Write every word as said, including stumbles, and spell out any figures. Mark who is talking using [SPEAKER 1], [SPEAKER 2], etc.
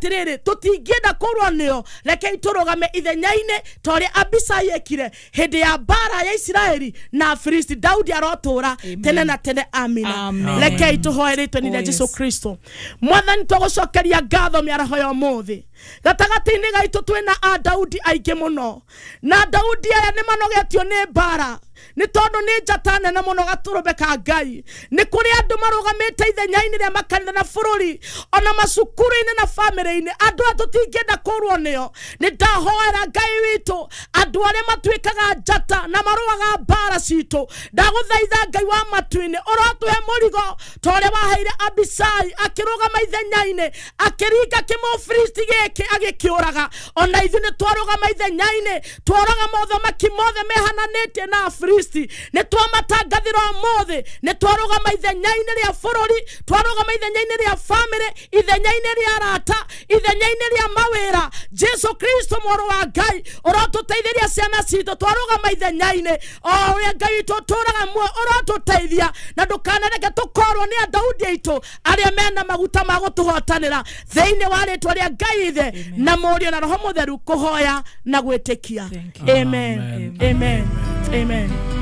[SPEAKER 1] atĩrĩrĩ, tũtingĩenda kũrũa nĩo, rekei tũrũgame ithenya-inĩ ta ũrĩa Abisai ekire hĩndĩ ya mbara ya Isiraeli na Afilisti. Daudi arotũra tene na tene, amina.
[SPEAKER 2] Amen.
[SPEAKER 1] Rekei tũhoe rĩtwa-inĩ rĩa
[SPEAKER 2] Oh,
[SPEAKER 1] Jesu
[SPEAKER 2] yes.
[SPEAKER 1] Kristo. Mwathani, tũgũcokeria ngatho mĩaraho ya ũmũthĩ. Gatagatĩ-inĩ gaitũ twĩna a Daudi aingĩ mũno, na Daudi aya nĩ manogetio nĩ mbara, nĩ tondũ nĩ njata nene mũno gatũrũme ka Ngai. Nĩ kũrĩ andũ marũgamĩte ithenya-inĩ rĩa makanitha na bũrũri, ona macukuru-inĩ na bamĩrĩ-inĩ, andũ aya tũtingĩenda kũrwo nĩo. Nĩ ndahoera Ngai witũ, andũ arĩa matuĩkaga njata na marũaga mbara citũ, ndagũthaitha Ngai wa matu-inĩ, ũrotũhe mũrigo ta ũrĩa waheire Abisai akĩrũgama ithenya-inĩ, akĩringa kĩmũfilisti gĩkĩ agĩkĩũraga. Ona ithuĩ nĩ twarũgama ithenya-inĩ, tworaga mothamaki mothe mehananĩtie na Afilisti, nĩ twamatangathĩra ũmũthĩ. Nĩ twarũgama ithenya-inĩ rĩa bũrũri, twarũgama ithenya-inĩ rĩa bamĩrĩ, ithenya-inĩ rĩa arata, ithenya-inĩ rĩa mawĩra. Jesu Kristo mũrũ wa Ngai, ũrotũteithĩria ciana citũ. Twarũgama ithenya-inĩ o ũrĩa Ngai witũ ũtũraga muoyo, ũrotũteithia na ndũkanareke tũkorwo nĩ Adaudi aitũ arĩa mena maguta ma gũtũhotanĩra, thĩinĩ wa rĩtwa rĩa Ngai Ithe na Mũriũ na Roho Mũtheru, kũhoya na gwĩtĩkia.
[SPEAKER 2] Thank you.
[SPEAKER 1] Amen.
[SPEAKER 3] Amen.
[SPEAKER 1] Amen. Amen.